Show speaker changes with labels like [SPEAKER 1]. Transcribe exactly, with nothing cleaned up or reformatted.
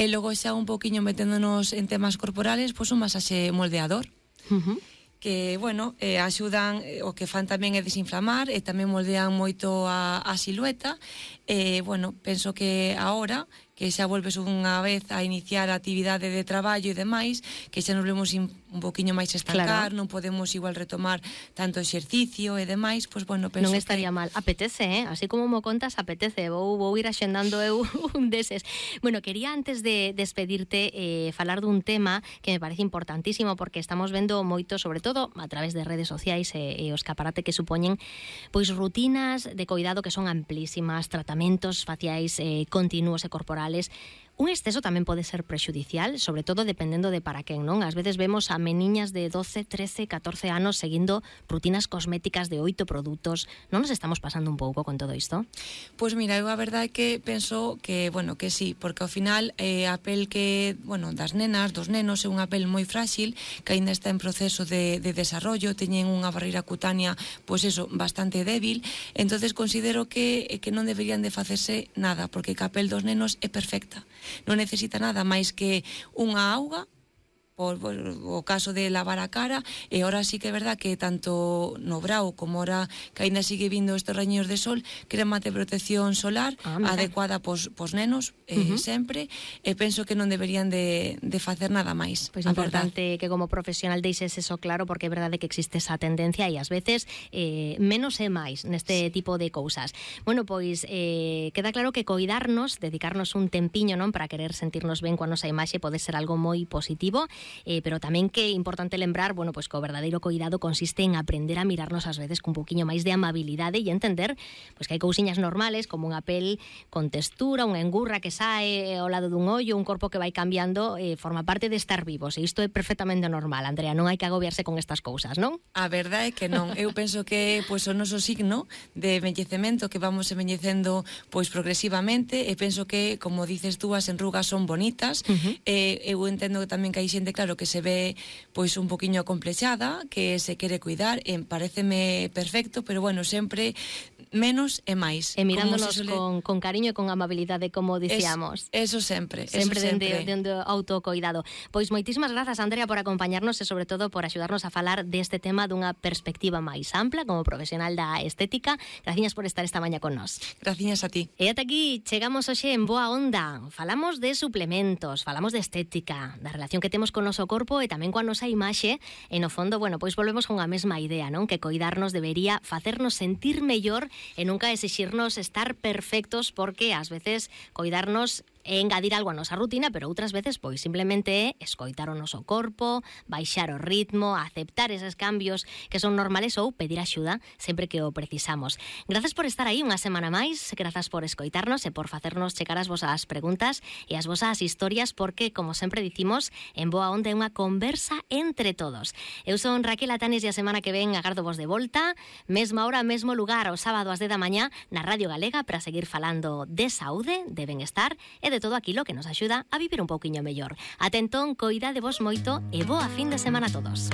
[SPEAKER 1] E logo xa un poquinho meténdonos en temas corporales, pois un masaxe moldeador. Uh-huh. Que, bueno, eh, axudan, eh, o que fan tamén é desinflamar e tamén moldean moito a, a silueta. E, bueno, penso que agora que xa volves unha vez a iniciar a actividade de traballo e demais, que xa nos vemos un poquinho máis estancar, claro. Non podemos igual retomar tanto exercicio e demais, pois, bueno, penso
[SPEAKER 2] non estaría
[SPEAKER 1] que...
[SPEAKER 2] mal. Apetece, eh? Así como mo contas, apetece. Vou, vou ir axendando eu un deses. Bueno, quería antes de despedirte eh, falar dun tema que me parece importantísimo, porque estamos vendo moito, sobre todo a través de redes sociais e, e o escaparate que supoñen, pois rutinas de coidado que son amplísimas, tratamentos faciais eh, continuos e corporales. Un exceso tamén pode ser prexudicial, sobre todo dependendo de para quen, non? Ás veces vemos a meniñas de doce, trece, catorce anos seguindo rutinas cosméticas de oito produtos. Non nos estamos pasando un pouco con todo isto?
[SPEAKER 1] Pois mira, eu a verdade é que penso que, bueno, que sí, porque ao final eh, a pel que, bueno, das nenas, dos nenos, é unha pel moi frágil, que aínda está en proceso de, de desarrollo, teñen unha barreira cutánea, pois eso, bastante débil. Entonces considero que, que non deberían de facerse nada, porque a pel dos nenos é perfecta. Non necesita nada máis que unha auga, por, por o caso de lavar a cara, e ahora sí que é verdad que tanto no brao como ahora que ainda sigue vindo estes raños de sol, crema de protección solar ah, adecuada pos, pos nenos eh, uh-huh. sempre, e penso que non deberían de, de facer nada máis.
[SPEAKER 2] Pois é importante que como profesional deixes eso claro, porque é verdade que existe esa tendencia e ás veces eh, menos é máis neste sí. tipo de cousas. Bueno, pois eh, queda claro que coidarnos, dedicarnos un tempiño, non, para querer sentirnos ben coa nosa imaxe pode ser algo moi positivo. Eh, pero tamén que é importante lembrar, bueno, pois que o verdadeiro coidado consiste en aprender a mirarnos ás veces cun poquinho máis de amabilidade e entender pois que hai cousiñas normales como unha pel con textura, unha engurra que sae ao lado dun ollo, un corpo que vai cambiando, eh, forma parte de estar vivos, e isto é perfectamente normal, Andrea, non hai que agobiarse con estas cousas, non?
[SPEAKER 1] A verdade é que non, eu penso que pois o noso signo de envellecemento, que vamos envellecendo pois progresivamente, e penso que, como dices tú, as enrugas son bonitas, uh-huh. e eu entendo que tamén que hai xente claro que se ve pois un poquinho acomplexada, que se quere cuidar, e paréceme perfecto, pero bueno, sempre menos e máis.
[SPEAKER 2] E mirándonos suele... con, con cariño e con amabilidade, como dicíamos.
[SPEAKER 1] Es, eso sempre,
[SPEAKER 2] sempre.
[SPEAKER 1] Eso
[SPEAKER 2] Sempre dende o autocoidado. Pois moitísimas grazas, Andrea, por acompañarnos e sobre todo por axudarnos a falar deste tema dunha perspectiva máis ampla como profesional da estética. Graciñas por estar esta mañá con nós.
[SPEAKER 1] Graciñas a ti.
[SPEAKER 2] E ata aquí chegamos hoxe en Boa Onda. Falamos de suplementos, falamos de estética, da relación que temos con noso corpo e tamén coa nosa imaxe, e no fondo, bueno, pois volvemos con a mesma idea, non? Que coidarnos debería facernos sentir mellor e nunca exixirnos estar perfectos, porque ás veces coidarnos é engadir algo a nosa rutina, pero outras veces pois simplemente é escoitar o noso corpo, baixar o ritmo, aceptar eses cambios que son normales ou pedir axuda sempre que o precisamos. Grazas por estar aí unha semana máis, grazas por escoitarnos e por facernos chegar as vosas preguntas e as vosas historias, porque, como sempre dicimos, en Boa Onda é unha conversa entre todos. Eu son Raquel Atanes e a semana que ven agardo vos de volta, mesma hora, mesmo lugar, o sábado ás dez da mañá na Radio Galega, para seguir falando de saúde, de benestar e de todo aquilo que nos axuda a vivir un pouquiño mellor. Ata entón, coidade vos moito e boa fin de semana a todos.